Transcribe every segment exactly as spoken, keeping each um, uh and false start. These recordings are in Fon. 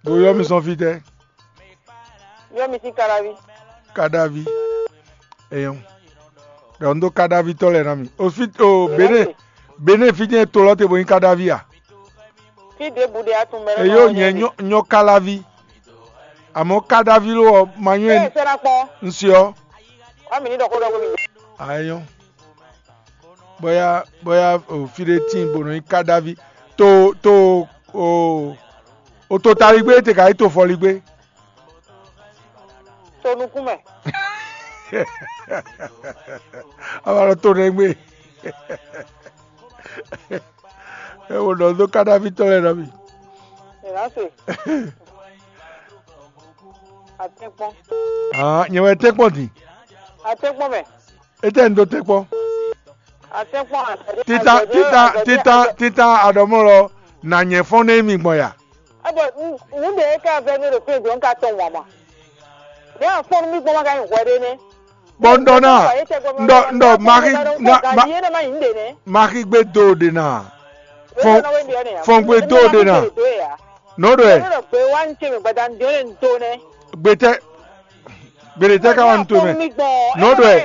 Bo ylɔ́ mi sɔ́n fítɛ́? Ylɔ́ mi sín Kadaví. Kadaví. Eyɔn. Ɖɔ un dó Kadaví tɔ́ lɛ́ɛ ná mi. O fí o Benin. Benin fí jɛ́n to lɔ te bo nyí Kadaví a? Fí ɖěbǔ ɖe atún mɛ. Eyó nyɛ nyɔ Kadaví. Àmọ́ Kadaví ló ɔ ma nyɔ. Ɛ sɛ́ ná kpɔn. Un se ɔ. Wá mi ní ɖɔ xó ɖɔ xó mi. Ayɔn. Bóyá bóyá o fí ɖé tíin bó nɔ nyí Kadaví. To to o o to taligbé te ka yí to fɔligbé. To nukún mɛ. Ava lɔ to nɛgbé. Ɛ wo ɖɔ dó Kadaví tɔ́ lɛ́ɛ nɔ mi. Ìlàsè. Àtẹ́pọ́n. Ah, nyɛ wɛ tɛ́kpɔn din. Àtẹ́pọ́n mɛ. Etɛ n dó tɛ́kpɔn. Àtẹ́pọ́n àtẹ́dé. Títà títà títà títà àdɔmɔlɔ nà nyɛ fɔn nɛ mi gbɔn ya. Ebo nu de ka vɛ ne ɖo fɛn jɔ n ka tɔn wama. Ne a fɔn mi gbɔn ma ka nyi hwɛ ɖe ne. Bɔn n ɖɔ na n ɖɔ n ɖɔ maxi maxi gbe do ɖe na. Fɔn fɔn gbe do ɖe na. Nɔ ɖɔ ɛ. Gbe tɛ gbe ɖe tɛ ka wa nu to mɛ. Nɔ ɖɔ ɛ.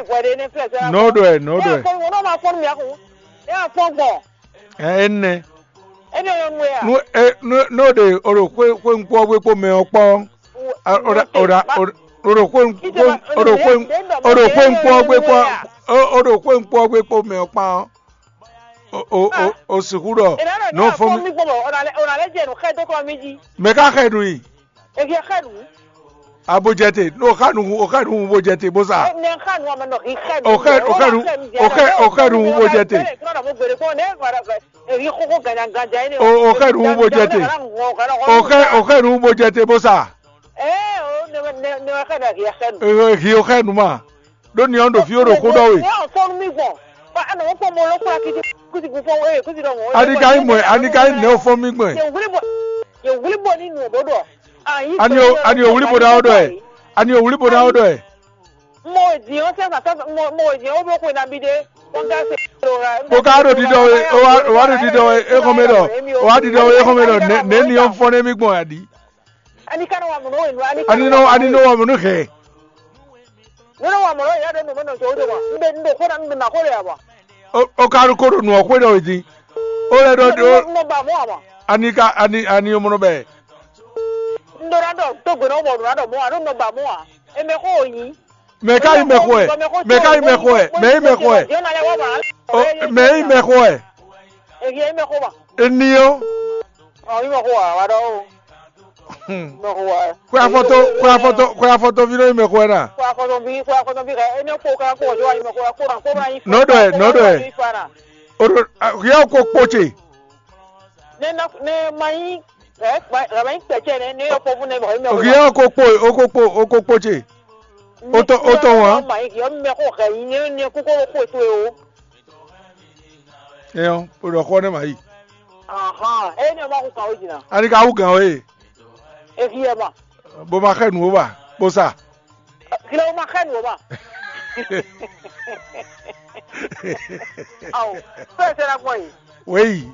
Nɔ ɖɔ ɛ nɔ ɖɔ ɛ. Ɛ ɛ nɛ. Nú é nú nú ó ɖe o ɖo xwé xwé ŋkpɔ́ gbé kpó mɛ ɔ́ kpɔ́n. O ɖa o ɖa o ɖo xwé ŋkpɔ́ o ɖo xwé ŋkpɔ́ gbé kpɔ́n. O ɖo xwé ŋkpɔ́ gbé kpó mɛ ɔ́ kpán. O o o o sixú ɖɔ nú fún mi. Mɛ ká xɛ nú i. Abojɛte, o xa nu o xa nu bojɛte bó sa. O xɛ o xɛ nu o xɛ o xɛ nu bojɛte. O xɛ nu bojɛte. O xɛ o xɛ nu bojɛte bó sa. Ehi o xɛ nu ma. Ɖó ni ɔ́ ɖo fí ó ɖo xó ɖɔ we. Ani ka nyí mɔ̌ ani ka nyí nɛ̌ o fɔ́n mì gbɔn? Ani o ani o wlí bo ná ó ɖɔ ɛ? Ani o wlí bo ná ó ɖɔ ɛ? Mo e din ɔ́ sɛn kaka mo mo e din ɔ́ wó bló xwe nabí ɖé. Kpó ká ɖo ɖiɖɔ we o wá o wá ɖo ɖiɖɔ we é xɔn mɛ ɖɔ o wá ɖiɖɔ we é xɔn mɛ ɖɔ nɛ̌ nɛ̌ ni ɔ́ fɔ́n nɛ́ mì gbɔn a ɖi? Ani ka nɔ wa mɔ̌ nɔ wenu ani ka Ani nɔ nɔ wa mɔ̌ ani nɔ nɔ wa mɔ̌ nɔ hɛn. Nɔ nɔ wa mɔ̌ nɔ yɛ ɖo nɔ mɛ nɔ sɔ wo do wa. Un bɛ un bɛ xɔ na un bɛ ma xɔ le ya wa. O o ka ɖo ko ɖo nǔ ɔ́ xwé ɖɔ wě dín. Ó lɛ́ ɖɔ Un ɖo nɔ ba mɔ wa ma. Ani ka ani ani o mɔ nɔ bɛ. Un ɖo na ɖɔ to gbe na mɔ ɖo na ɖɔ mɔ wa ɖo nɔ ba mɔ wa. E mɛ xɔ o nyi. Mɛ ka yi mɛ xɔ ɛ? Mɛ ka yi mɛ xɔ ɛ? Mɛ yi mɛ xɔ ɛ? Mɛ yi mɛ xɔ ɛ? Èyí ẹ mɛ xó ma. Eni ɔ́. Ɔ yí mɛ xó wa wa ɖɔ o. Mɛ xó wa. Xwe afɔtɔ xwe afɔtɔ xwe afɔtɔvi nɔ yi mɛ xɔ ɛ na. Kó afɔtɔvi kó afɔtɔvi kɛ ene kó ká kó ɔjɔ wa yí mɛ xó wa kó na kó na yí. Nɔ ɖɔ ɛ nɔ ɖɔ ɛ. Oɖo hiɛ ko kpo ce. Ne na ne ma yí ɛ ma yí kpɛcɛ ne ne yɔ kpɔvu ne mɔ yi mɛ xó wa. Hiɛ ko kpo o ko kpo o ko kpo ce. O tɔ o tɔ wa. Ma yí hiɛ mɛ xó kɛ yí ne ne kókó kó to o. Ɛyɔ, o ɖɔ xɔ ne ma yi. Ahan, e ne ma ku kan o jina. Ani ka wu gan o ye. E fi e ma. Bo ma xɛ nu o ba, bo sa. Kile o ma xɛ nu o ma. Awo, fɛ sera kɔ yi. Weyi.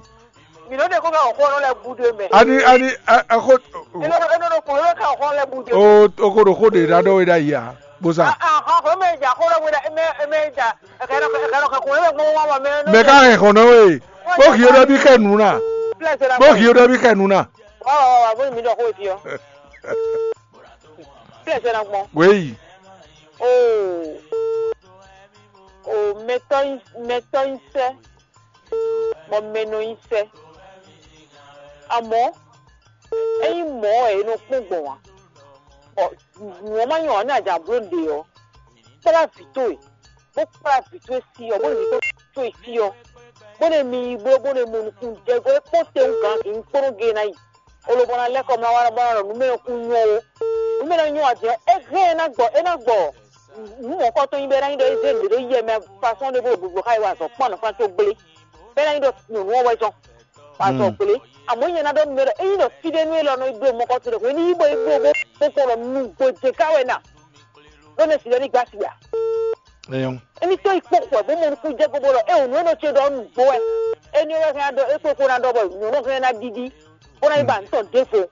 Mi no de ko ka o xɔ no le bu de mɛ. Ani ani a a xɔ. E no e no ko ka o xɔ le bu de. O o ko ɖo xó ɖe ɖa ɖɔ we ɖa yi a, bo sa. Ahan, ko me ja xɔ le we ɖa, me me ja. Mɛ ka hɛn xɔnɔ we? Bó hì ó ɖɔ bí xɛ nǔ ná. Bó hì ó ɖɔ bí xɛ nǔ ná. Wěyi. O mɛtɔ́ nyi sɛ́, bɔ mɛ nɔ nyi sɛ́. Amɔ̌, ényí mɔ̌ wɛ è nɔ kpɔ́n gbɔn ǎ, bɔ nǔ ɔ́ má nyɔ́ ǎ nú a jǎ bló nǔɖé ɔ́, kplá vǐ towe, bó kplá vǐ towe sí ɔ́, bó ɖo vǐ towe sí ɔ́, bó ɖo mi yi bló, bó ɖo mɔ nukúnnú jɛ gɔ́ é kpɔ́n tɛnwú gǎn vǐ kpónɔ gé ná yi. Olobɔna lɛ́ kɔ mlá wá bó ná ɖɔ nǔ mɛ kún nyɔ́ ó. Nǔ mɛ ná nyɔ́ ǎ din ɔ́, é hɛn ɛ ná gbɔ é ná gbɔ nǔ mɔ̌kɔtɔn nyi bɔ é ná nyí ɖɔ é zé nǔɖé ɖó yɛ mɛ fasɔ́n ɖé bó ɖo gbǐgbó xá yi wá azɔ̌ kpɔ́n anɔ̌ fán có gblé. Bɔ é ná nyí ɖɔ nyɔ̌nu ɔ́ wɛ zɔ́n wá azɔ̌ gblé. Amɔ̌ nyɛ ná ɖɔ nú mɛ ɖɔ ényí ɖɔ fí ɖé nú élɔ́ nɔ yi bló mɔ̌kɔtɔn ɖé hwenu ní yi bó yi bló bó kpɔ́n ɖɔ nǔgbó jɛ ká wɛ na. Ɖó nɛ́ si lɛ́ ní gbá asi ǎ. Émí tó yi kpó xwɛ bó mɔ nukún jɛ gbogbo ɖɔ é wǒ nú é nɔ ce ɖɔ nǔgbó wɛ. Éní wɛ hɛn ɖɔ é kpókpó ná ɖɔ bɔ nyɔ̌nu hɛn ná ɖiɖi bó ná yi ba nǔ tɔn ɖěvo.